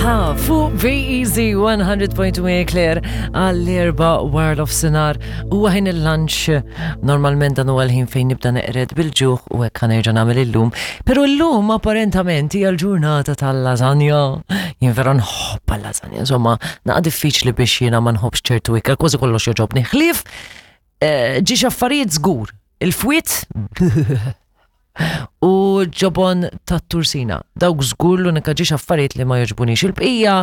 Aha, fuq BEZ 100.2 Claire għall-erba wara l-ofsinar u ħin il-lunch. Normalment dan huwa l-ħin fejn nibda neqred bil-ġuħ u hekk ħanerġa' nagħmel illum. Però llum apparentament hija l-ġurnata tal-lasagna. Jien vera nħobb lasagna, insomma, naqa' diffiċli biex jiena ma nħobbx ċertu ikel, kważi kollox jogħġobni. Ħlief eh, ġiex affarijiet żgur. Il-fwiet u ġobon tat-tursina. Dawk żgur l-unika ġiex affarijiet li ma jogħġbunix. Il-bqija,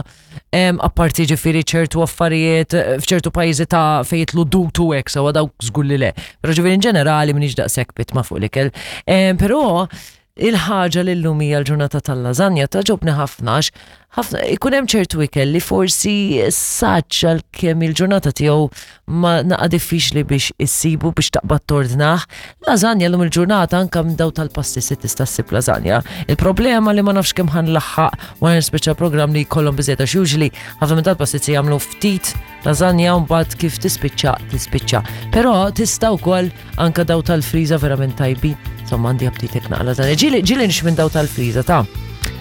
apparti ġifieri ċertu affarijiet eh, f'ċertu pajjiżi ta' fejn jitlu dutu hekk sewa dawk żgur li le. Però ġifieri in ġenerali m'iniex daqshekk pitma fuq l-ikel. Però il-ħaġa li llum hija l-ġurnata tal-lażanja togħġobni ħafna għax ħafna ikun hemm ċertu ikel li forsi saċ għalkemm il-ġurnata tiegħu ma naqa' diffiċli biex issibu biex taqbad tordnah. Lażanja llum il-ġurnata anke minn daw tal-pasti se tista' ssib lażanja. Il-problema li ma nafx kemm ħanlaħħaq wara nispiċċa programm li jkollhom biżejjed għax usually ħafna minn tal-pastizzi jagħmlu ftit lażanja u mbagħad kif tispiċċa tispiċċa. Però tista' wkoll Anka daw tal-friża verament tajbin. Insomma, għandi aptitek naqla dan. Ġili ġili nix minn daw tal-friża ta'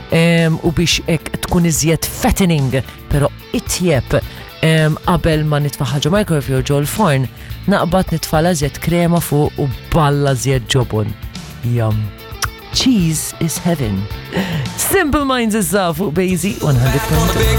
u biex ek tkun iżjed fattening, pero itjeb qabel ma nitfaħħa ġo microwave jew ġo l-forn, naqbad nitfala żjed krema fuq u balla żjed ġobon. Yum. Cheese is heaven. Simple Minds issa fuq Bazy 100.2.